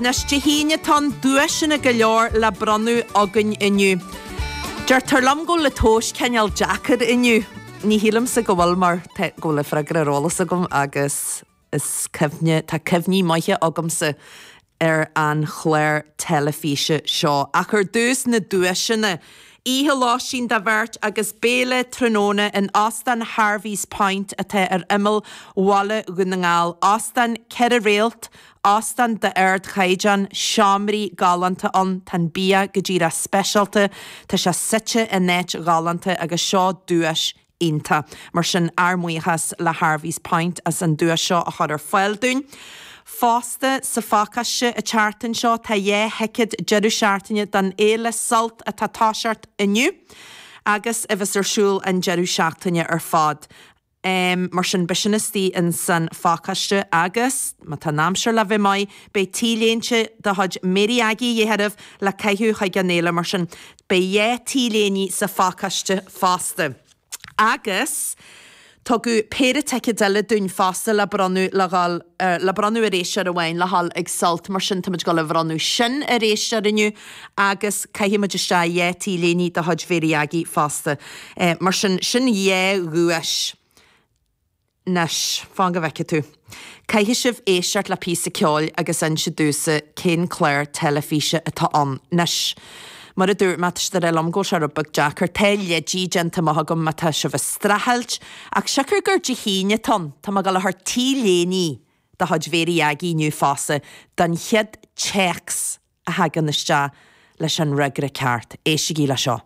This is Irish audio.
Anois, Dé hAoine atá ann, duaiseanna go leor le bronnadh againn inniu. Deirtear liom go bhfuil an tomhas cineál deacair inniu. Ní shílimse go bhfuil mar tá go bhfuil an freagra ar eolas agam agus is cuimhne, tá cuimhní maithe agamsa ar an chlár teilifíse seo. Ach ar dtús na duaiseanna. Oíche lóistín do bheirt agus béile tráthnóna in Óstán Harvey's Point atá ar imeall bhaile Dhún na nGall. Óstán 4 réalt, óstán d'ardchaighdeán, seomraí galánta ann, tá an bia go díreach speisialta, tá sé suite in áit ghalánta agus seo duais iontach. Mar sin, ár mbuíochas le Harvey's Point as an duais seo a chur ar fáil dúinn. Fosta, sa phacáiste an tseachtain seo tá 2 thicéad deireadh seachtaine don fhéile Sult atá ag toiseacht inniu agus a bheas ar siúl an deireadh seachtaine ar fad. Mar sin, beidh sin istigh ins an phacáiste agus, má tá an aimsir le bheith maith, beidh T-léinte de chuid Mary Aggie a dhíth oraibh le caitheamh chuig an fhéile. Mar sin, beidh 2 T-léine sa phacáiste fosta. Agus tugadh péire ticéad eile dúinn fosta le bronnadh le dhul, le bronnadh ar éisteoir amháin le dhul ag Sult, mar sin táimid ag dul a bhronnadh sin ar éisteoir inniu agus caithfidh muid isteach 2 T-léine de chuid Mhary Aggie fosta. Mar sin, sin 2 dhuais. Anois, fan go bhfeicfidh tú. Caithfidh sibh éisteacht le píosa ceoil agus inse domhsa cén clár teilifíse atá ann. Anois, mar a dúirt mé, tá siad ag rá liom go bhfuil sé rud beag deacair. Tá leidí déanta amach agam má tá sibh ag streachailt, ach siocair gur Dé hAoine atá ann, tá mé ag dul a thabhairt T-léine de chuid Mhary Aggie inniu fosta don chéad téacs a thagann isteach leis an fhreagra ceart. Éistigí le seo.